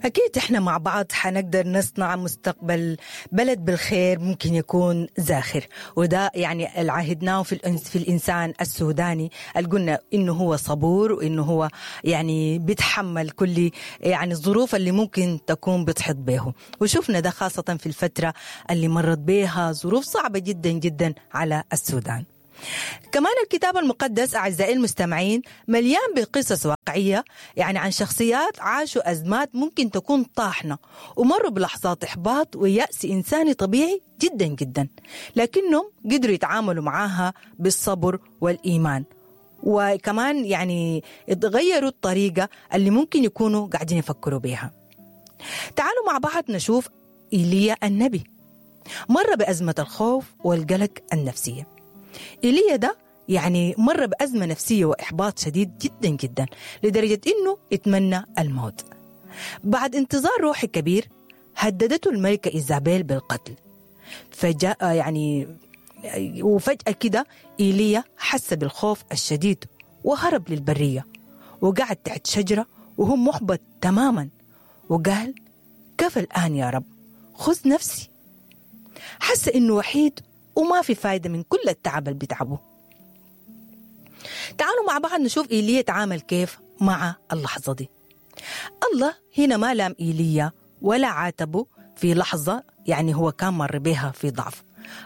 أكيد إحنا مع بعض حنقدر نصنع مستقبل بلد بالخير ممكن يكون زاخر، وده يعني اللي عهدناه في الإنسان السوداني اللي قلنا إنه هو صبور وإنه هو يعني بيتحمل كل يعني الظروف اللي ممكن تكون بتحيط به، وشفنا ده خاصة في الفترة اللي مرت بها ظروف صعبة جدا جدا على السودان. كمان الكتاب المقدس أعزائي المستمعين مليان بقصص واقعية يعني عن شخصيات عاشوا أزمات ممكن تكون طاحنة ومروا بلحظات إحباط ويأس إنساني طبيعي جدا جدا، لكنهم قدروا يتعاملوا معاها بالصبر والإيمان، وكمان يعني غيروا الطريقة اللي ممكن يكونوا قاعدين يفكروا بيها. تعالوا مع بعض نشوف إيليا النبي مر بأزمة الخوف والقلق النفسية. إيليا ده يعني مر بأزمة نفسية وإحباط شديد جدا جدا لدرجة إنه اتمنى الموت. بعد انتظار روحي كبير هددته الملكة إيزابيل بالقتل، فجاء يعني وفجأة كده إيليا حس بالخوف الشديد وهرب للبرية وقعد تحت شجرة وهو محبط تماما، وقال كفى الآن يا رب، خذ نفسي. حس إنه وحيد وما في فايدة من كل التعب اللي بيتعبه. تعالوا مع بعض نشوف إيليا تعامل كيف مع اللحظة دي. الله هنا ما لام إيليا ولا عاتبه في لحظة يعني هو كان مر بها في ضعف.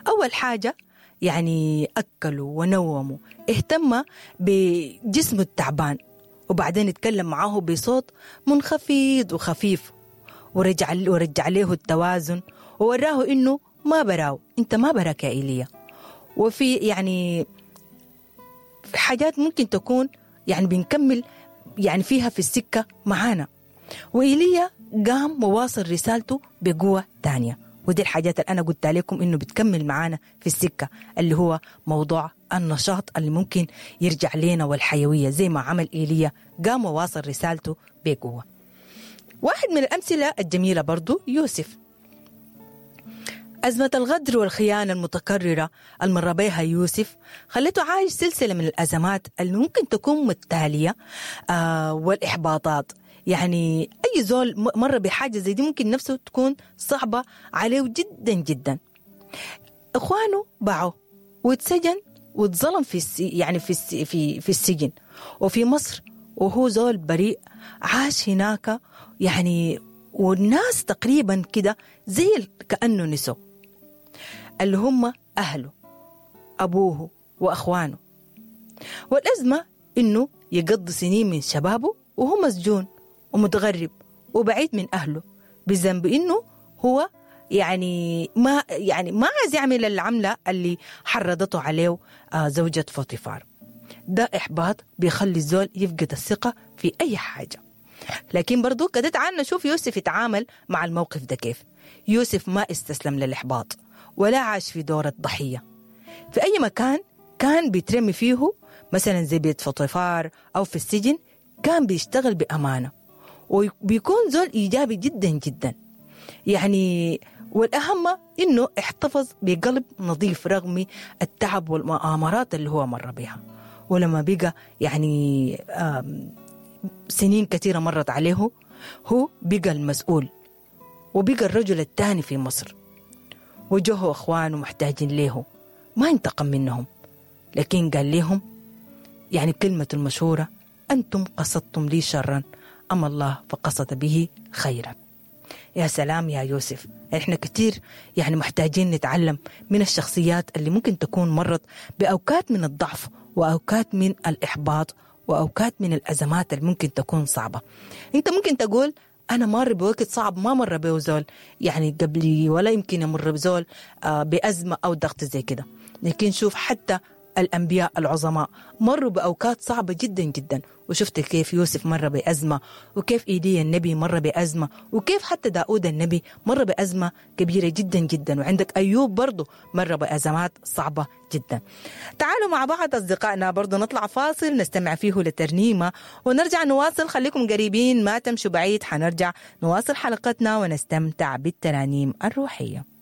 أول حاجة يعني أكلوا ونوموا، اهتم بجسمه التعبان، وبعدين اتكلم معاه بصوت منخفض وخفيف، ورجع له التوازن ووراه إنه ما براو، انت ما براك يا إيليا. وفي يعني حاجات ممكن تكون يعني بنكمل يعني فيها في السكة معانا. وإيليا قام وواصل رسالته بقوة تانية، ودي الحاجات اللي أنا قلت لكم إنه بتكمل معانا في السكة، اللي هو موضوع النشاط اللي ممكن يرجع لنا والحيوية، زي ما عمل إيليا قام وواصل رسالته بقوة. واحد من الأمثلة الجميلة برضو يوسف. أزمة الغدر والخيانة المتكررة المر بها يوسف خلته عايش سلسلة من الأزمات اللي ممكن تكون متتالية والإحباطات. يعني أي زول مر بحاجة زي دي ممكن نفسه تكون صعبة عليه جدا جدا. إخوانه باعوه واتسجن واتظلم في السجن وفي مصر، وهو زول بريء عاش هناك يعني، والناس تقريبا كده زي كأنه نسوا اللي هم أهله أبوه وأخوانه. والأزمة إنه يقضي سنين من شبابه وهو مسجون ومتغرب وبعيد من أهله، بذنب إنه هو يعني ما عايز يعمل العملة اللي حرضته عليه زوجة فوتيفار. ده إحباط بيخلي الزول يفقد الثقة في أي حاجة. لكن برضو كده تعال نشوف يوسف يتعامل مع الموقف ده كيف. يوسف ما استسلم للإحباط ولا عاش في دور الضحية. في أي مكان كان بيترمي فيه، مثلا زي بيت فوتيفار أو في السجن، كان بيشتغل بأمانة وبيكون زول إيجابي جدا جدا يعني. والأهم إنه احتفظ بقلب نظيف رغم التعب والمؤامرات اللي هو مر بها. ولما بقى يعني سنين كثيرة مرت عليه، هو بقى المسؤول وبقى الرجل الثاني في مصر، وجوه أخوانه محتاجين له، ما انتقم منهم، لكن قال لهم يعني كلمة المشهورة: أنتم قصدتم لي شرا أما الله فقصد به خيرا. يا سلام يا يوسف، احنا كتير يعني محتاجين نتعلم من الشخصيات اللي ممكن تكون مرت بأوقات من الضعف وأوقات من الإحباط وأوقات من الأزمات اللي ممكن تكون صعبة. أنت ممكن تقول أنا مر بوقت صعب ما مر به زول يعني قبلي، ولا يمكن يمر بزول بأزمة أو ضغط زي كده. لكن شوف حتى الأنبياء العظماء مروا بأوقات صعبة جدا جدا، وشفت كيف يوسف مر بأزمة، وكيف إيليا النبي مر بأزمة، وكيف حتى داود النبي مر بأزمة كبيرة جدا جدا، وعندك أيوب برضو مر بأزمات صعبة جدا. تعالوا مع بعض أصدقائنا برضو نطلع فاصل نستمع فيه لترنيمة ونرجع نواصل. خليكم قريبين ما تمشوا بعيد، حنرجع نواصل حلقتنا ونستمتع بالترانيم الروحية.